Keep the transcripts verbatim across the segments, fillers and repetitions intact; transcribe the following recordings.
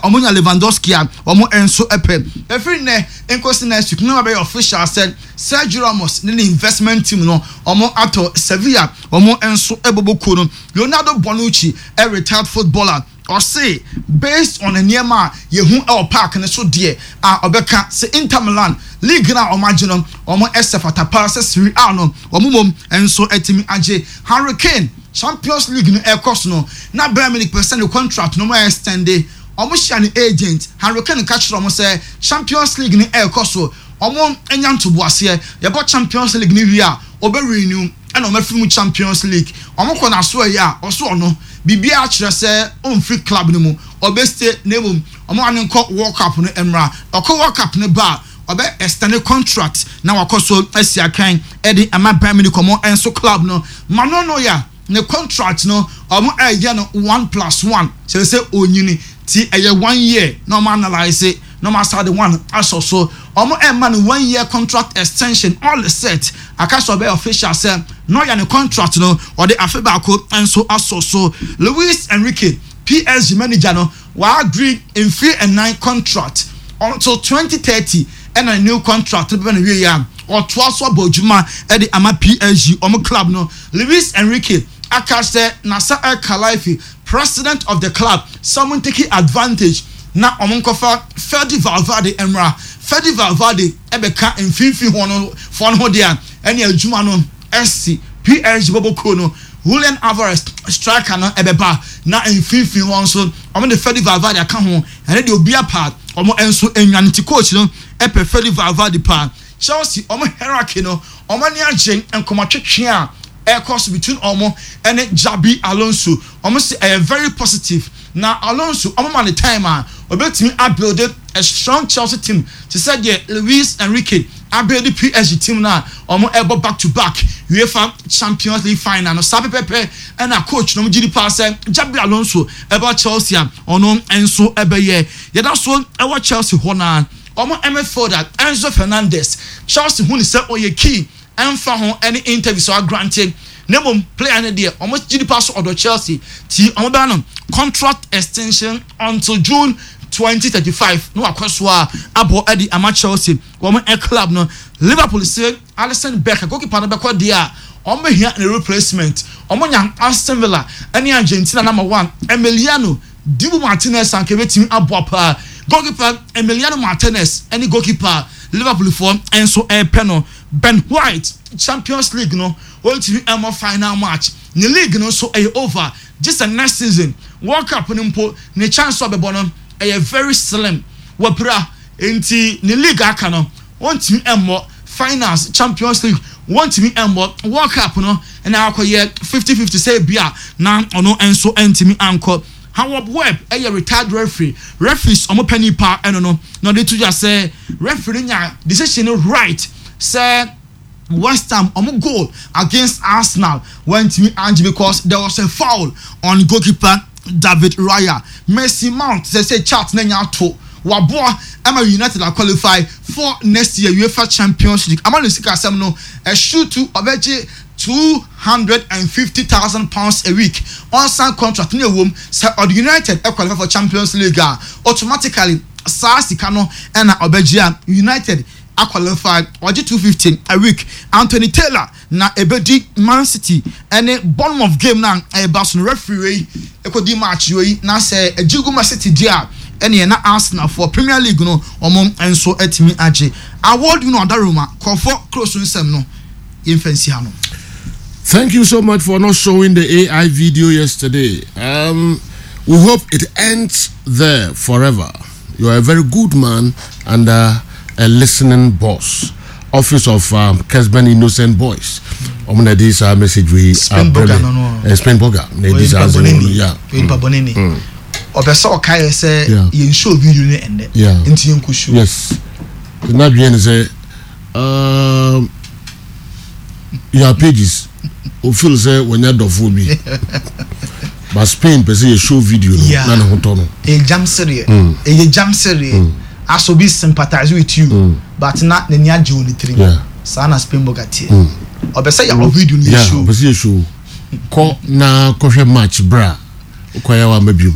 Ɔmo nya Lewandowski a, ɔmo nso pɛ. Efiri nnɛ nkosi next week na wabɛyɛ official sɛ Sergio Ramos ne ne investment team no, ɔmo atɔ Sevilla, ɔmo nso bɔbɔ kuo no. Leonardo Bonucci, a retired footballer, ɔse based on nneɛma a yɛhu ɛwɔ park ne so deɛ a, ɔbɛka sɛ Inter Milan league na ɔmo agye no, ɔmo ɛsɛ fata paa sɛ Serie A no ɔmo mom nso ɛtumi agye. Harry Kane, Champions League no ɛkɔ so no na Bayern Munich pɛ sɛ ne contract no ɔmo extend. Ɔmo hyia ne agent. Harry Kane ka kyerɛ ɔmo sɛ Champions League no ɛkɔ so, ɔmo anya ntoboaseɛ, yɛbɔ Champions League no wie a, ɔbɛ renew. Ɛna ɔmo afiri mu Champions League, ɔmo kɔ n'aso ɛyɛ a, ɔso ɔno biribiara kyerɛ sɛ ɔmfiri club no mu, ɔbɛ stay, na emom ɔmo ane nkɔ World Cup no mmra. Ɔkɔ World Cup no ba a, ɔbɛ extend contract na wakɔ so asi akan ɛde ama Bayern Munich, ɔmo nso club no. Manuel Neuer ne contract no, ɔmo ɛyɛ no one plus one, kyerɛ sɛ onyini ti ɛyɛ one year na ɔmo analyse na ɔmo asa de one asɔ so. Ɔmo ɛma no one year contract extension. All set, aka sɛ ɔbɛyɛ official sɛ Neuer ne contract no, ɔde afe baako nso asɔ so. Luis Enrique, P S G manager no, wa agree mfiri ɛnan contract until twenty thirty, ɛna new contract no bɛbɛ no wie a, ɔtoa so abɔ adwuma ɛde ama P S G, ɔmo club no. Luis Enrique aka sɛ Nasser El Khelaifi, president of the club, sɛ ɔmo take advantage na ɔmo nkɔfa Fede Valverde mmra. Fede Valverde ɛbɛka mfimfini hɔ no fɔ no ho deɛ, ɛne adwuma no ɛsi P S G bɔbɔ kuo no. Julian Alvarez, striker no, ɛbɛba na mfimfini hɔ nso ɔmo de Fede Valverde aka ho. Ɛne deɛ obi apa ɔmo nso enwa ne ti. Coach no ɛpɛ Fede Valverde paa. Chelsea, ɔmo hierarchy no, ɔmo ani agye nkɔmɔtwetwe a ɛkɔ so between ɔmo ɛne Xabi Alonso. Ɔmo si ɛyɛ very positive na Alonso, ɔmo ma ne time a, ɔbɛtumi abuild a strong Chelsea team te sɛ deɛ Luis Enrique abuild P S G team na ɔmo ɛbɔ back to back UEFA Champions League final no. Saa pɛpɛpɛ ɛna coach no, ɔmo gyi di paa sɛ Xabi Alonso ɛbɔ Chelsea a, ɔno nso ɛbɛyɛ. Yɛda so ɛwɔ Chelsea hɔ naa, ɔmo midfielder Enzo Fernandez, Chelsea hu ne sɛ ɔyɛ key, ɛnfa ho ɛne interview so agrante, na mmom player no deɛ, ɔmo gyi di paa so ɔdɔ Chelsea ti ɔmo bɛn no contract extension until June twenty thirty five na wakɔ so a abɔ ɛde ama Chelsea, wɔn ɛ club no. Liverpool sɛ Alisson Becker, goalkeeper no, bɛkɔ deɛ a, wɔn bɛhia ne replacement. Wɔn nya Aston Villa ɛne Argentina number one Emiliano Dibu Martinez anka ebetumi aboa paa. Goalkeeper Emiliano Martinez ɛne goalkeeper Liverpool foɔ nso ɛrepɛ no. Ben White, Champions League no, wɔntumi ɛmɔ final match ne league no nso ɛyɛ over gye sɛ next season. World Cup no mpo, ne chance ɔbɛbɔ no ɛyɛ very slim. Wɔpira nti ne league aka no, wɔntumi ɛmmɔ finals Champions League, wɔntumi ɛmmɔ World Cup no, ɛna akɔyɛ fifty fifty sɛ ebi a na ɔno nso ɛntumi ankɔ. Howard Webb ɛyɛ retired referee, referees ɔmo pɛ nipa ɛno no, na ɔde to dwa sɛ referee no nya decision no right sɛ West Ham ɔmo goal against Arsenal wɔntumi angye because there was a foul on goalkeeper David Raya. Mason Mount sɛ sɛ chat na nya ato waboa ɛma United a qualify for next year UEFA Champions League, ama ne sika asɛm no ɛsutu, ɔbɛgye two hundred and fifty thousand pounds a week ɔnsan contract ne ewom sɛ ɔde United qualify for Champions League a, automatically saa sika no ɛna ɔbɛgye a United aqualify. Ɔgye two fifty a week. Anthony Taylor na ebedi Man City ɛne Bournemouth game na ɛba so no referee wei ekodi match wei na sɛ egye gu Man City di a, ɛne na Arsenal for Premier League no, wɔn nso atumi agye award no. Adaroma kɔfɔ close nsɛm no, yɛmfa nsi ha no. Thank you so much for not showing the A I video yesterday. Um, we hope it ends there forever. You are a very good man and uh, a listening boss. Office of um, Kesben Innocent Boys. I'm gonna this uh, message we Spain Burger no no. Uh, Spain Burger. Yeah. Nipa bɔne ni. Ɔpɛ sɛ ɔka yɛ sɛ yɛn show video no ɛndɛ. Yeah. Nti yɛn kɔ show. Yes. Na dwen sɛ um, your pages o feel sɛ wɔnyɛ dɔfo bi, but Spain pɛ sɛ yɛ show video no Yeah. na ne ho tɔ no. Ɛyɛ jam sereɛ, ɛyɛ jam sereɛ as obi sympathize with you but na n'ani agye wɔ ne tirim. Yeah. Saa na Spain Burger teɛ, ɔpɛ sɛ yɛ video no yɛ yeah show. Ɔpɛ sɛ yɛ show. Kɔ na kɔhwɛ match bra, wokɔyɛ wa ma biom.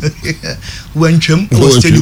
Wantwam wɔ stadium.